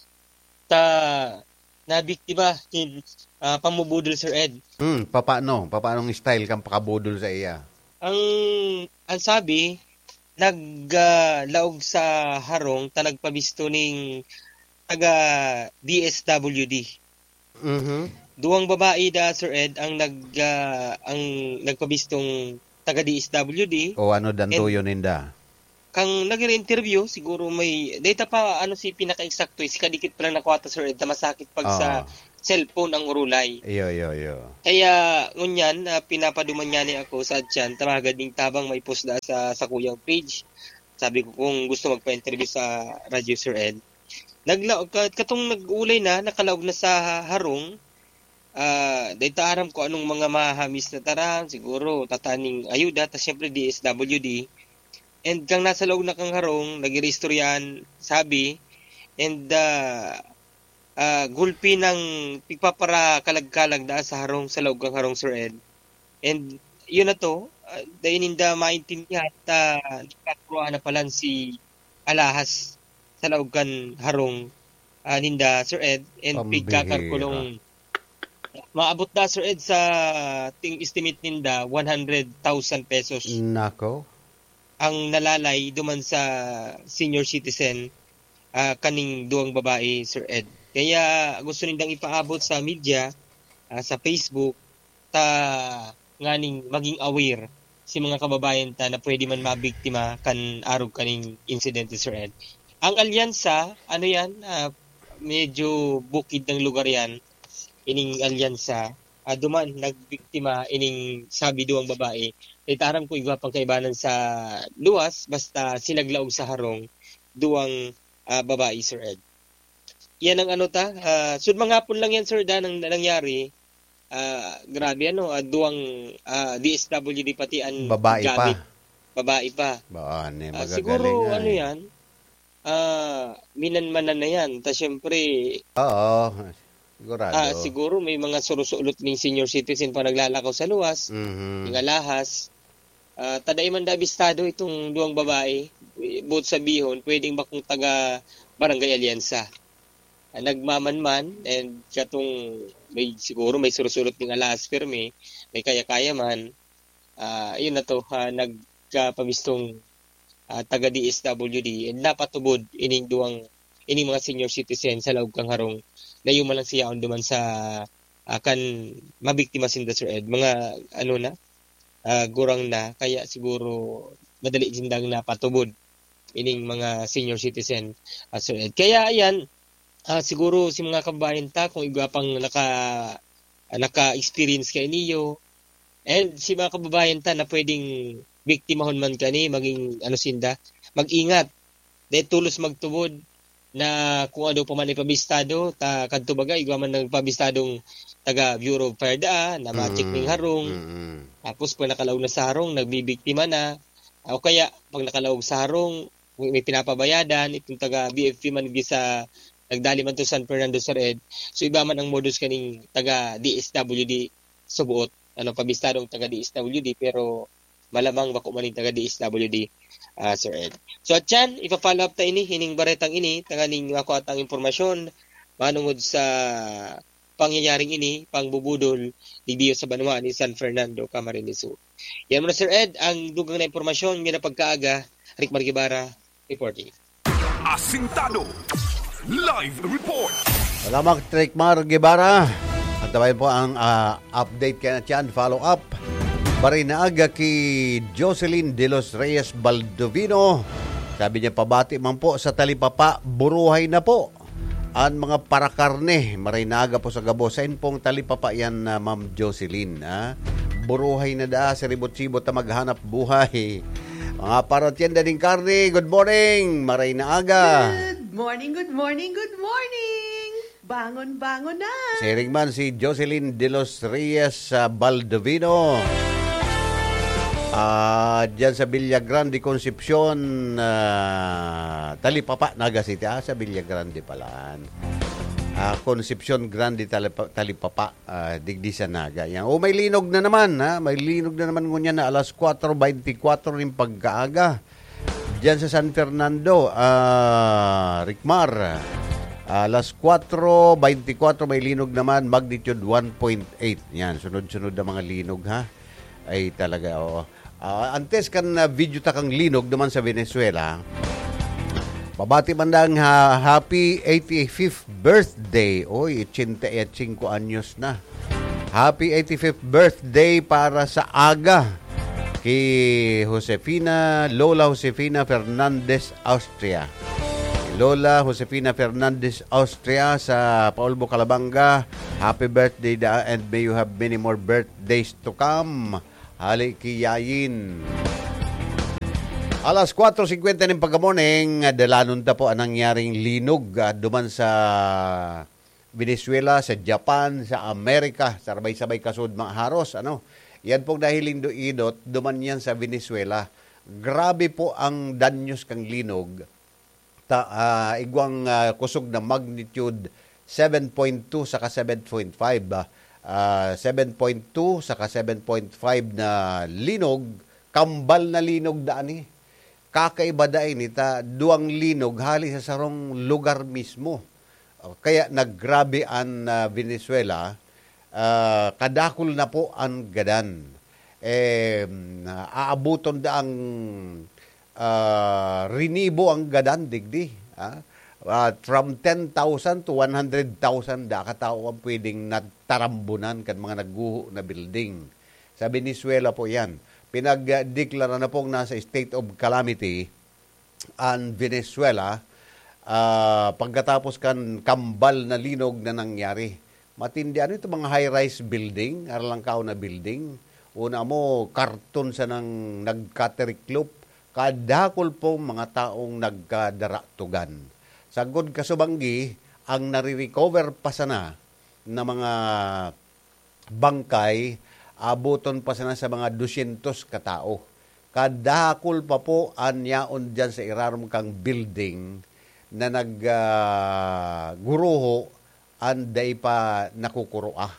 ta nabiktima nin, ah, pamubudol, Sir Ed. Hmm, papaano? Papaanong style kang pakabudol sa iya? Ang, ang sabi, nag, ah, laog sa harong ta nagpabisto ning taga D S W D. Mhm. Duwang babae da, Sir Ed, ang nag, ah, ang nagpabistong taga D S W D. O ano dan And tuyo ninda? Kang nag-interview, siguro may, data pa, ano, si pinaka-eksakto, eh, si kadikit pa lang nakuha ta, Sir Ed, na masakit pag sa Oo. cellphone ang urulay. Iyo, iyo, iyo. Kaya, ngunyan, ah, pinapaduman niya ni ako sa tiyan, tamagan ning tabang may post na sa, sa kuyang page. Sabi ko, kung gusto magpa-interview sa radyo, Sir Ed. Nagla-, ka-, katong nag-ulay na, nakalaog na sa harong, ah, dai ta aram kung anong mga mahahamis na taran, siguro tataning ayuda, ta siyempre D S W D. And kang nasa laog na kang harong, nag-iristoryahan, sabi, and, ah, ah, gulpi ng pigpapara-kalag-kalag na sa harong, sa laog kang harong, Sir Ed. And yun na to, ah, dai ninda maintindihan ta nagkakuroan na palan si alahas sa laog kan harong, ah, ninda, Sir Ed, and Pambihira. pigkakarkulong. Maabot na, Sir Ed, sa ting estimate ninda, one hundred thousand pesos Nako. ang nalalay duman sa senior citizen, ah, kaning duwang babae, Sir Ed. Kaya gusto nindang ipaabot sa media, ah, sa Facebook, ta nganing maging aware si mga kababayan ta na pwede man mabiktima kan arog kaning insidente, Sir Ed. Ang alyansa, ano yan, ah, medyo bukid ng lugar yan, ining alyansa. Ah, duman, nagbiktima ining sabi duwang babae. Itaram ko igwa pang kaibanan sa luwas, basta sinaglaog sa harong, duwang, ah, babae, Sir Ed. Yan ang ano ta, ah, sud manghapon lang yan, Sir Dan, ang nangyari. Ah, grabe ano, ah, duwang, ah, D S W D pati ang Babae pa. gamit. Babae pa. Ba, ano, Ah, magagaling siguro, nga ano eh. yan, ah, minanmanan na yan. Ta siyempre, Oo, sigurado. ah, siguro may mga surusulot ning senior citizen pa naglalakaw sa luwas, Mhm. mga lahas. Ah, ta dai man da abistado itong duwang babae. Buot sabihon, pwedeng bakong taga Barangay Alianza. Ah, nagmamanman and katong may, siguro may surusulot ning alahas pirmi, may kaya-kaya man. Ah, ayun na to, ah, nagkapamistong, ah, taga D S W D and napatubod ining duwang, ining mga senior citizen sa laog kang harong na yumalang siyaon duman sa, ah, kan mabiktima sinda, Sir Ed. Mga ano na, ah, gurang na, kaya siguro madali sindang napatubod ining mga senior citizen, ah, Sir Ed. Kaya ayan, ah, siguro si mga kababayan ta, kung igwa pang naka-, naka-experience kayo niyo, and si mga kababayan ta na pwedeng biktimahon man kani, maging ano sinda, mag-ingat. Dahil tulos magtubod na kung ano pa man ipabistado, ta kadto baga, igwa man nagpabistadong taga Bureau of Fire daa, na ma-check Mm. ning harong. Mm. Tapos pag nakalaog na sa harong, nagbibiktima na. O kaya, pag nakalaog sa harong, may, may pinapabayadan, itong taga B F P man gisa, nagdali man to San Fernando, Sir Ed. So, iba man ang modus kaning taga D S W D sa buot. Ano, pabistadong taga D S W D, pero malamang bako man yung taga D S W D, ah, Sir Ed. So, at yan, ipa-follow up ta ini, ining baretang ini, tanganing makuha tang impormasyon, manungod sa pangyayaring ini, pangbubudol, digdiyo sa banwa ni San Fernando, Camarines Sur. Yan muna, Sir Ed, ang dugang na impormasyon, ngayong pagkaaga, Rick Margibara, reporting. Asintado. Live report. Salamat, Rick Mar Guevara. Antabayan po ang, ah, update kaya na tiyan, follow up. Barinaga ki Jocelyn De Los Reyes Baldovino. Sabi niya, pabati man po sa talipapa, buruhay na po. An mga parakarne, maray na aga po sa gabos. Sain pong talipapa yan, ah, Ma'am Jocelyn, ha? Buruhay na daa, siribot-sibot na maghanap buhay. Mga paratyenda ning karne, good morning! Maray na aga! Good morning, good morning, good morning! Bangon, bangon na! Siring man si Jocelyn De Los Reyes, ah, Baldovino. Ah, dyan sa Villa Grande, Concepcion, ah, Talipapa, Naga City. Ah, sa Villa Grande pala. Ah, Concepcion Grande, Talipa-, Talipapa, ah, digdi sa Naga. Yan. O, may linog na naman, ha? May linog na naman ngunyan na alas kwatro beintikwatro ning pagkaaga. Diyan sa San Fernando, ah, Ricmar, alas kwatro beintikwatro, may linog naman, magnitude one point eight. Yan, sunod-sunod na mga linog, ha? Ay, talaga, oo. Ah, antes kan, ah, video ta kang linog naman sa Venezuela, pabati man lang, ha, happy eighty-fifth birthday. Oy, ochenta y cinco anyos na. Happy eighty-fifth birthday para sa aga. Hi Josefina, Lola Josefina Fernandez Austria. Lola Josefina Fernandez Austria sa Paulbo, Calabanga. Happy birthday da, and may you have many more birthdays to come. Hali ki Yayin. Alas kwatro singkwenta nin pagka-morning, dalanon ta po ang nangyaring linog, ah, duman sa Venezuela, sa Japan, sa Amerika, sabay-sabay kasud mga haros, ano. Yan pong nahiling do idot, duman yan sa Venezuela. Grabe po ang danyos kang linog. Ta-, ah, igwang, ah, kusog na magnitude seven point two saka seven point five, ah. Ah, seven point two saka seven point five na linog, kambal na linog daan, eh. Kakaiba dai ni ta duwang linog hali sa sarong lugar mismo. O, kaya naggrabe an, ah, Venezuela, ah, kadakul na po an gadan. Eh, aabuton da ang, ah, rinibo ang gadan digdi, ah. Ah, from ten thousand to one hundred thousand da katao ang pwedeng natarambunan kan mga nagguho na building. Sa Venezuela po yan. Pinagdeklara na pong nasa state of calamity an Venezuela, ah, pagkatapos kan kambal na linog na nangyari. Matindi, ano ito, mga high-rise building, aralangkaw na building. Una mo, karton sanang nagkatiriklop, kadakul po mga taong nagkadaratugan. Sagkod kasubanggi, ang nare-recover pa sana na mga bangkay, abuton pa sana sa mga dosyentos katao. Kadakul pa po an yaon diyan sa irarom kang building na nag, ah, guruho an dai pa nakukuroa.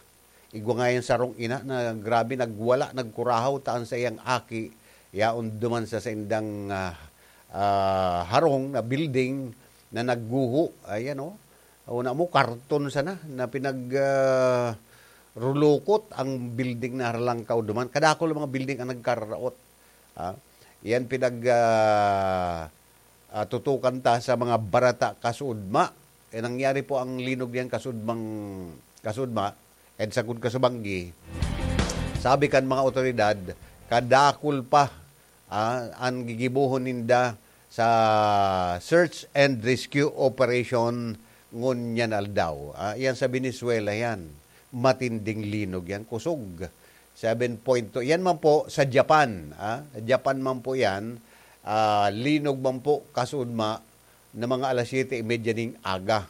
Igwa nga yan sarong ina na grabe nagwala, nagkurahaw ta an saiyang aki yaon duman sa saindang, ah, ah, harong na building na nagguho. Ayan, oh. Una mo, karton sana na pinag, ah, rulukot ang building na haralangkaw duman. Kadakul ang mga building ang nagkararaot. Ah, yan pinag, ah, ah, tutukan ta sa mga barata kasudma. Eh, nangyari po ang linog niyan kasudmang, kasudma, and sagkod kasubanggi. Sabi kan mga otoridad, kadakul pa, ah, an gigibohon ninda sa search and rescue operation ngunyan aldaw. Ah, yan sa Venezuela yan. Matinding linog yan, kusog. Seven point two. Yan man po sa Japan, ah. Japan man po yan. Ah, linog man po kasudma na mga alas siyete y media ning aga.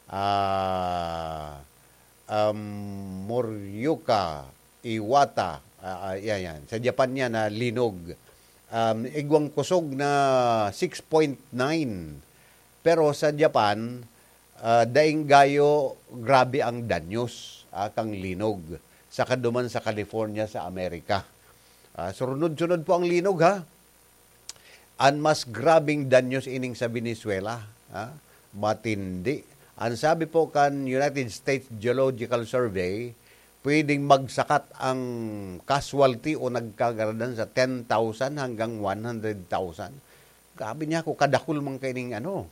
Ah, um, Morioka, Iwata, ah, ah, yan, yan. Sa Japan yan, ah, linog. Um, igwang kusog na six point nine. Pero sa Japan, ah, daing gayo grabe ang danyos, ah, kang linog. Saka duman sa California, sa Amerika. Ah, surunod-sunod po ang linog, ha? An mas grabeng danyos ining sa Venezuela, ha? Matindi. An sabi po kan United States Geological Survey, pwedeng magsakat ang casualty o nagkagaradan sa ten thousand hanggang one hundred thousand. Grabe niya ako, kadakul man kaining ano,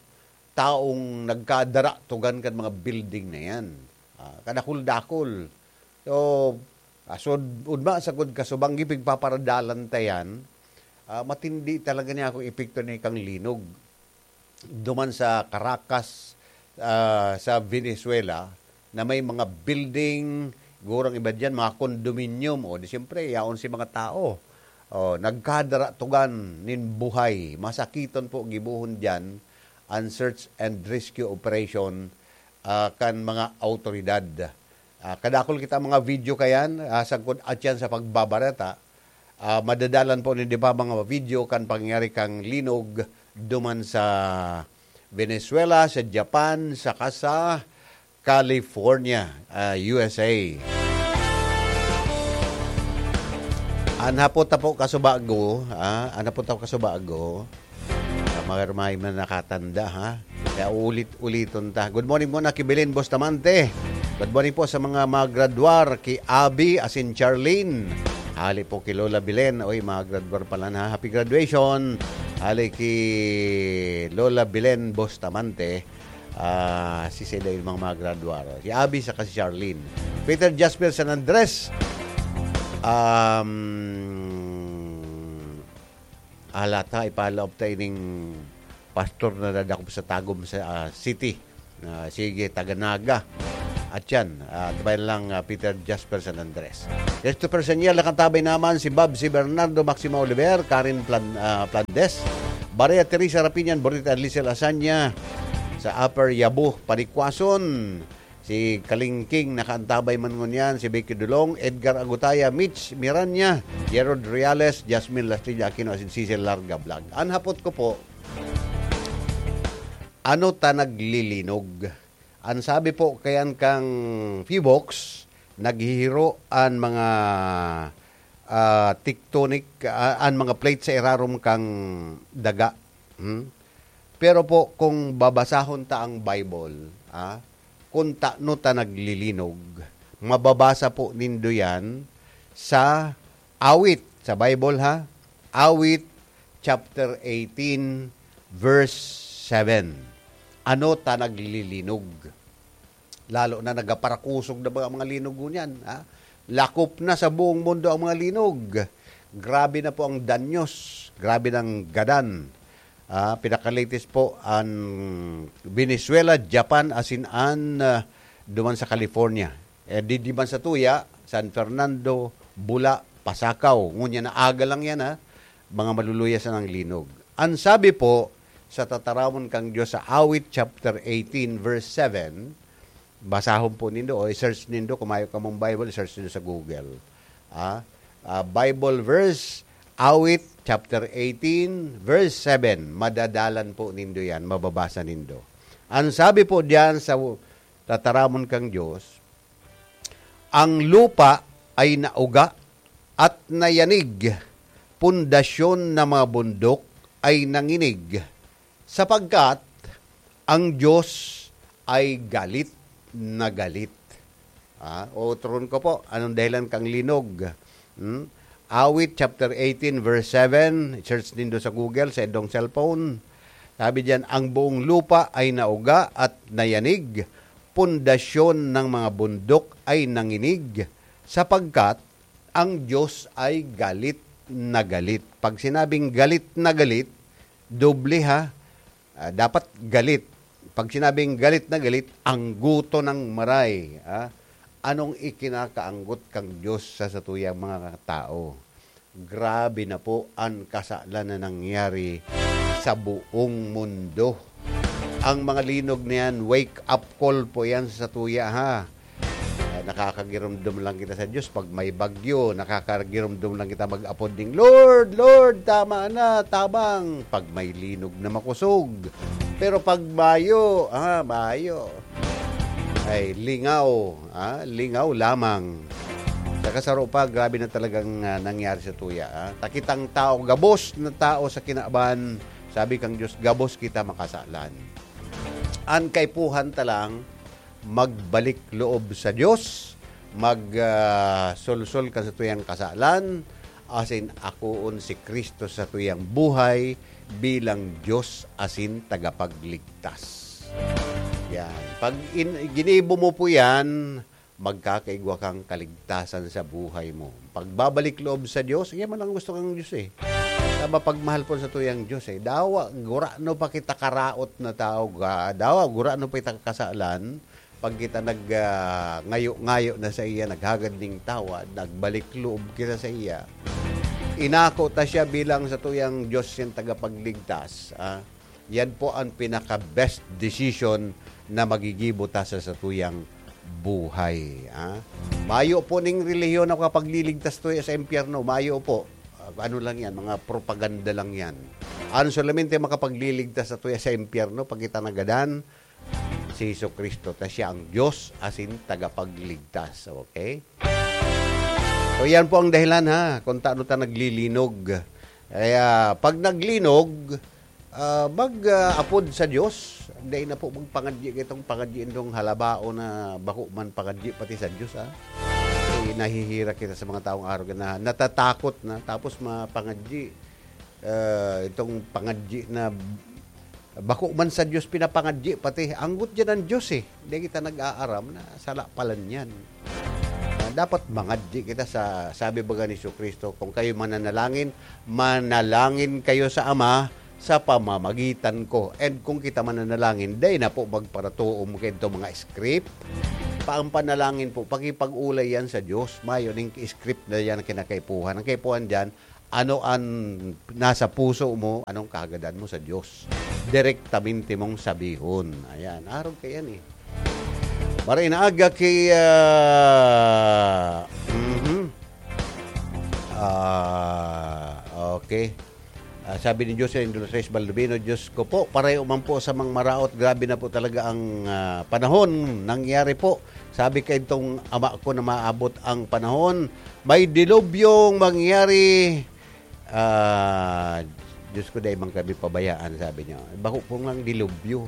taong nagkadaratugan kan mga building na yan. Ah, kadakul-dakul. So, asod, udma sagkod kasubanggi pigpaparadalan ta yan, ah, matindi talaga niya akong epekto ni kang linog. Duman sa Caracas, ah, sa Venezuela, na may mga building, gurang iba dyan, mga condominium, o di siyempre, yaon si mga tao. O, nagkadaratugan nin buhay. Masakiton po gibohon dyan ang search and rescue operation, ah, kan mga awtoridad. Ah, kadakul kita mga video kayan, ah, sagkod atyan sa pagbabareta. Ah, madadalan po nin di ba mga video kan pangyayari kang linog duman sa Venezuela, sa Japan, saka sa California, ah, U S A. An hapot ta po kasubago, ah, an hapot ta po kasubago, ah, marmay man nakatanda, ha? Kaya ulit-uliton ta. Good morning muna kay Belen Bustamante. Good morning po sa mga magradwar, kay Abby asin Charlene. Hali po kay Lola Belen. Oy, magradwar pala na. Happy graduation. Hali kay Lola Belen Bustamante. Ah, si sila yung mga magradwar. Si Abby saka si Charlene. Peter Jasper San Andres. Um, Halata, ipalaop ta ining pastor na nadakop sa Tagum sa, ah, City. Ah, sige, taga Naga. At yan, ah, tabayan lang, ah, Peter Jasper San Andres. Christopher Sanyal, nakantabay naman si Bob, si Bernardo Maximo Oliver, Karen Plan-, ah, Plandes, Maria Teresa Rapiñan, Borita Lisel Asanya, sa Upper Yabo, Panikwason. Si Kalingking, nakaantabay man ngunyan, si Becky Dulong, Edgar Agutaya, Mitch Miranya, Gerald Reales, Jasmine Lastilla Aquino, asin Cecil Larga Vlog. An hapot ko po, ano ta naglilinog? An sabi po kayan kang Fibox, naghihiro an mga, ah, tectonic, ah, an mga plate sa irarom kang daga. Hmm? Pero po, kung babasahon ta ang Bible, ah, kung tano ta naglilinog, mababasa po nindo yan sa Awit, sa Bible ha, Awit chapter eighteen, verse seven. Ano ta naglilinog? Lalo na nagaparakusog na mga, mga linog ngunyan, ha? Lakop na sa buong mundo ang mga linog. Grabe na po ang danyos, grabe ng gadan. Ah, pinaka-latest po ang Venezuela, Japan, asin an, ah, duman sa California. Eh, di, di man sa tuya, San Fernando, Bula, Pasacao. Ngunyan na aga lang yan, ha? Mga maluluya sa nang linog. Ang sabi po sa tataramon kang Diyos sa Awit chapter eighteen, verse seven, basahon po nindo o i-search nindo, kung mayo kamong Bible, i-search nindo sa Google. Ah, ah, Bible verse, Awit chapter eighteen, verse seven. Madadalan po nindo yan, mababasa nindo. Ang sabi po diyan sa tataramon kang Diyos, "Ang lupa ay nauga at nayanig, pundasyon na mga bundok ay nanginig, sapagkat ang Diyos ay galit na galit." Ah, otron ko po, anong dahilan kang linog? Hmm? Awit chapter eighteen, verse seven, search nindo sa Google, sa indong cellphone. Sabi diyan, "Ang buong lupa ay nauga at nayanig, pundasyon ng mga bundok ay nanginig, sapagkat ang Diyos ay galit na galit." Pag sinabing galit na galit, doble ha. Ah, dapat galit. Pag sinabing galit na galit, angguton ng maray, ah. Anong ikinakaanggot kang Diyos sa satuyang mga tao? Grabe na po an kasalan na nangyari sa buong mundo. Ang mga linog na yan, wake up call po yan sa satuya, ha? Ah, nakakagiromdom lang kita sa Diyos pag may bagyo, nakakagiromdom lang kita mag-apod ning, "Lord, Lord, tama na, tabang," pag may linog na makosog. Pero pag mayo, ah, mayo. Ay, lingaw, ah, lingaw lamang. Saka saro pa, grabe na talagang, ah, nangyari sa tuya, ah. Ta kitang tao, gabos na tao sa kinaban, sabi kang Diyos, gabos kita makasalan. An kaipuhan ta lang, magbalik loob sa Diyos, mag, ah, solsol kan satuyang kasalan, asin akoon si Cristo sa satuyang buhay bilang Diyos asin tagapagligtas. Yan. Pag in-, ginibo mo po yan, magkakaigwa kang kaligtasan sa buhay mo. Pagbabalik loob sa Diyos, yan man ang gusto kang Diyos eh. Sa mapagmahal po sa tuyang Diyos eh. Dawa, gurano pa kita karaot na tao, ga-, dawa, gurano pa kita kasalan, pag kita nag, ah, ngayo-ngayo na sa iya, naghagad ning tawad, nagbalik loob kita sa iya. Inako ta siya bilang sa tuyang Diyos, yung tagapagligtas, ah. Yan po ang pinaka-best decision na magigibo ta sa satuyang buhay, ah. Mayo po ning relihiyon na makapagliligtas tuya sa impyerno, mayo po. Ah, ano lang yan, mga propaganda lang yan. Ang solamente makapagliligtas sa tuya sa impyerno, pag kita nagadan, si Jesu-Cristo, ta siya ang Diyos asin tagapagligtas. Okay? So, yan po ang dahilan, ha, kung taano ta naglilinog. Kaya, pag naglinog, ah, mag, ah, apod sa Diyos. Dai na po magpangadyi kitong pangadyi indong halabao na bako man pangadyi pati sa Diyos, ha. Eh, nahihirak kita sa mga taong arog na natatakot na, tapos mapangadyi. Ah, itong pangadyi na bako man sa Diyos pinapangadyi, pati anggot diyan ang Diyos eh. Di kita nag-aaram na sala pala niyan. Ah, Dapat mangadyi kita sa, sabi baga ni Jesu-Cristo, "Kung kayo mananalangin, manalangin kayo sa Ama sa pamamagitan ko." And kung kita mananalangin, dai na po magparatuom kaidto mga script. Pa-, ang panalangin po, pakipag-olay yan sa Diyos. Mayo ning script na yan ang kinakaipuhan. Ang kaipuhan diyan, ano an nasa puso mo, anong kahagadan mo sa Diyos. Direktamente mong sabihon. Ayan, arog kaiyan eh. Maray na aga ki, ah, mhm. Ah, okay. Ah, sabi ni Jocelyn Dolores Baldovino, "Diyos ko po, pareho man po sa mga maraot. Grabe na po talaga ang, ah, panahon. Nangyari po, sabi kaidtong ama ko na maabot ang panahon, may dilubyong mangyari." Ah, "Diyos ko, dai man kami pabayaan," sabi niya. Bako po ngang dilubyo.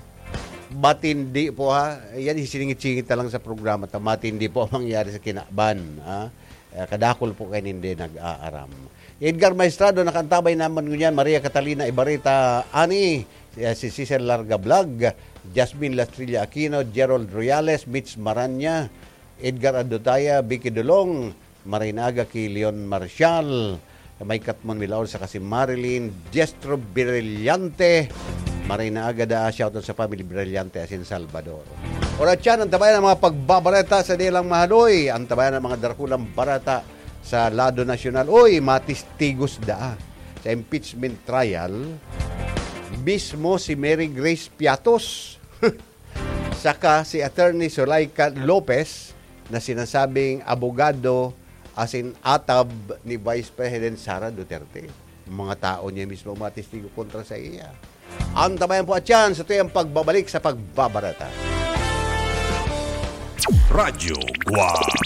Matindi po, ha? Yan, siningit-singit na lang sa programa ta. Matindi po ang mangyari sa kinaban, ha? Eh, kadakul po kayo hindi nag-aaram. Edgar Maestrado, nakantabay naman ngunyan. Maria Catalina Ibarita, Ani, si, si Cecil Larga Vlog, Jasmine Lastrilla Aquino, Gerald Royales, Mitch Maranya, Edgar Adotaya, Vicky Dulong, Maray na aga ki Leon Marcial, may Katmon Milaor saka si Marilyn Diestro Brillante. Maray na aga da, shoutout sa family Brillante asin Salvador. Oras yan, antabayan ang mga pagbabareta sa Dilang Mahadoy. Antabayan ang mga darakulang bareta sa lado nasyonal. Uy, matistigos da sa impeachment trial. Mismo si Mary Grace Piatos. Saka si Attorney Zuleika Lopez na sinasabing abogado asin atab ni Vice President Sara Duterte. Mga tao niya mismo matestigo kontra sa iya. Antabayan po at yan sa tuyang pagbabalik sa pagbabareta. Radyo Guwang.